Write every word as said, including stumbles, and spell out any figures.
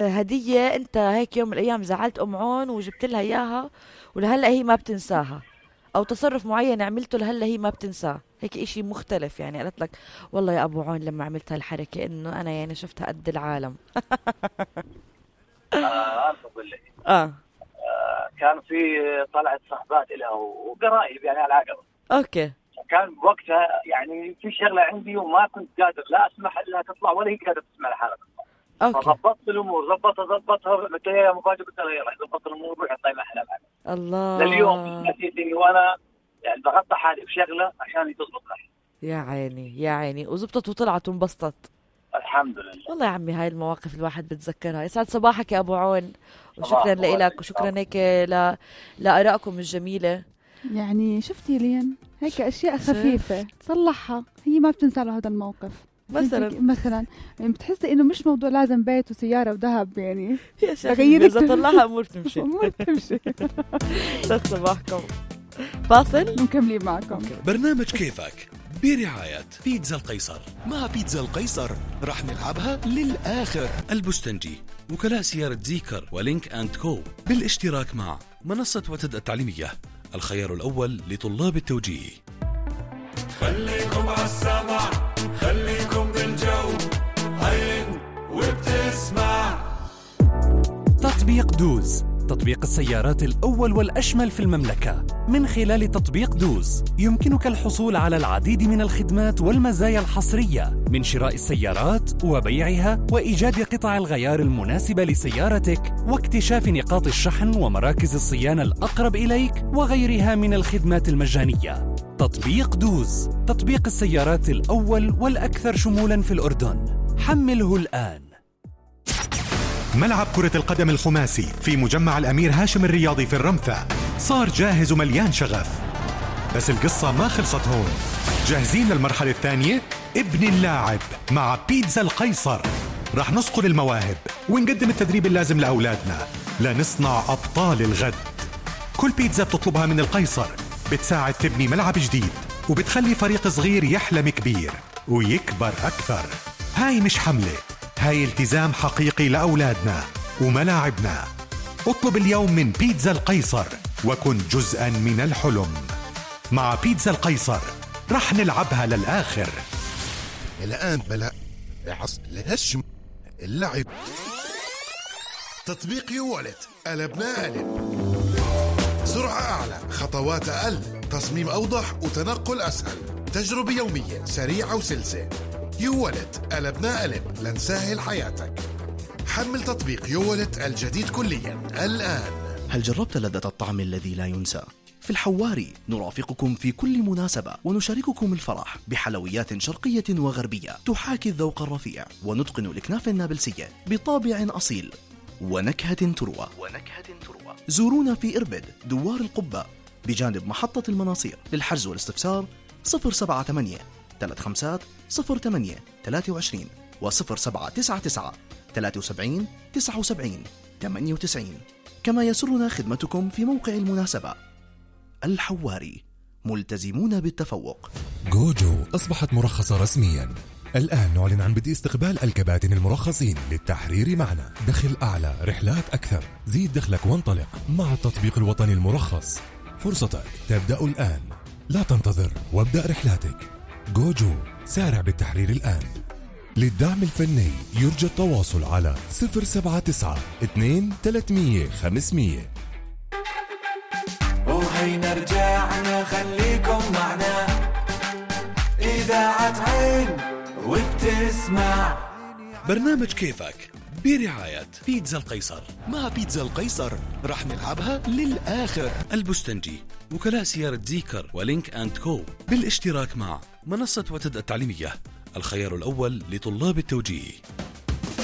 هدية انت هيك يوم من الايام زعلت ام عون وجبت لها اياها ولهلا هي ما بتنساها، او تصرف معين عملته لهلا هي ما بتنساه، هيك اشي مختلف يعني. قالت لك والله يا ابو عون لما عملت هالحركة انه انا يعني شفتها قد العالم. آه أقول لك اه آه، كان في طلعت صحبات لها وقرايب يعني على العقبة. اوكي. كان بوقتها يعني في شغلة عندي وما كنت قادر لا اسمح لها تطلع ولا هي قادرة تسمع الحلقة. اوكي. فضبطت الامور، ضبطها ضبطها قلت لها يا مفاجاه، قلت لها يلا ضبط الامور روحي طيب احلى معك. الله. لليوم نسيت اني وانا يعني ضغطت حالي بشغله عشان تضبط معي. يا عيني يا عيني، وزبطت وطلعت وانبسطت. الحمد لله. والله يا عمي هاي المواقف الواحد بتذكرها. يسعد صباحك يا ابو عون، وشكرا لك وشكرا هيك ل... لارائكم الجميله. يعني شفتي لين هيك اشياء خفيفه تصلحها، هي ما بتنسى له هذا الموقف. مثلا مثلا يعني بتحسي انه مش موضوع لازم بيت وسياره وذهب يعني يا شيخ اذا طلعها امور تمشي. امور تمشي. يسعد صباحكم. فاصل ومكملين معكم. برنامج كيفك برعاية بيتزا القيصر. مع بيتزا القيصر رح نلعبها للآخر. البستنجي، وكلاء سيارة زيكر ولينك أند كو، بالاشتراك مع منصة وتد التعليمية، الخيار الأول لطلاب التوجيه. خليكم عالسمع، خليكم بالجو، عين وبتسمع. تطبيق دوز، تطبيق السيارات الأول والأشمل في المملكة. من خلال تطبيق دوز يمكنك الحصول على العديد من الخدمات والمزايا الحصرية، من شراء السيارات وبيعها وإيجاد قطع الغيار المناسبة لسيارتك واكتشاف نقاط الشحن ومراكز الصيانة الأقرب إليك وغيرها من الخدمات المجانية. تطبيق دوز، تطبيق السيارات الأول والأكثر شمولاً في الأردن. حمله الآن. ملعب كرة القدم الخماسي في مجمع الأمير هاشم الرياضي في الرمثة صار جاهز ومليان شغف، بس القصة ما خلصت هون. جاهزين للمرحلة الثانية؟ ابن اللاعب مع بيتزا القيصر. رح نصقل المواهب ونقدم التدريب اللازم لأولادنا لنصنع أبطال الغد. كل بيتزا بتطلبها من القيصر بتساعد تبني ملعب جديد، وبتخلي فريق صغير يحلم كبير ويكبر أكثر. هاي مش حملة، هاي التزام حقيقي لأولادنا وملاعبنا. اطلب اليوم من بيتزا القيصر وكن جزءاً من الحلم. مع بيتزا القيصر رح نلعبها للآخر. الآن بلا عص لهشم اللعب. تطبيق يوالت قلبنا قلب. سرعة أعلى، خطوات أقل، تصميم أوضح وتنقل أسهل، تجربة يومية سريعة وسلسة. يوالت قلبنا قلب لنسهل حياتك. حمل تطبيق يوالت الجديد كليا الآن. هل جربت لذة الطعم الذي لا ينسى؟ في الحواري نرافقكم في كل مناسبة ونشارككم الفرح بحلويات شرقية وغربية تحاكي الذوق الرفيع ونتقن الكنافة النابلسية بطابع أصيل ونكهة تروى. ونكهة تروى. زورونا في إربد دوار القبة بجانب محطة المناصير. للحجز والاستفسار صفر سبعة ثمانية ثلاثة خمسة صفر ثمانية ثلاثة وعشرين وصفر سبعة تسعة تسعة ثلاثة وسبعين تسعة وسبعين ثمانية وتسعين. كما يسرنا خدمتكم في موقع المناسبة. الحواري، ملتزمون بالتفوق. جوجو أصبحت مرخصة رسميا. الآن نعلن عن بدء استقبال الكباتن المرخصين للتحرير معنا. دخل أعلى، رحلات أكثر، زيد دخلك وانطلق مع التطبيق الوطني المرخص. فرصتك تبدأ الآن، لا تنتظر وابدأ رحلاتك. جوجو، سارع بالتحرير الآن. للدعم الفني يرجى التواصل على صفر سبعة تسعة اثنين ثلاثمية خمسمية. وهينا رجعنا، خليكم معنا، إذاعة عين وبتسمع. برنامج كيفك برعاية بيتزا القيصر. مع بيتزا القيصر رح نلعبها للآخر. البستنجي، وكلاء سيارة زيكر ولينك أند كو، بالاشتراك مع منصة وتد التعليمية، الخيار الأول لطلاب التوجيه.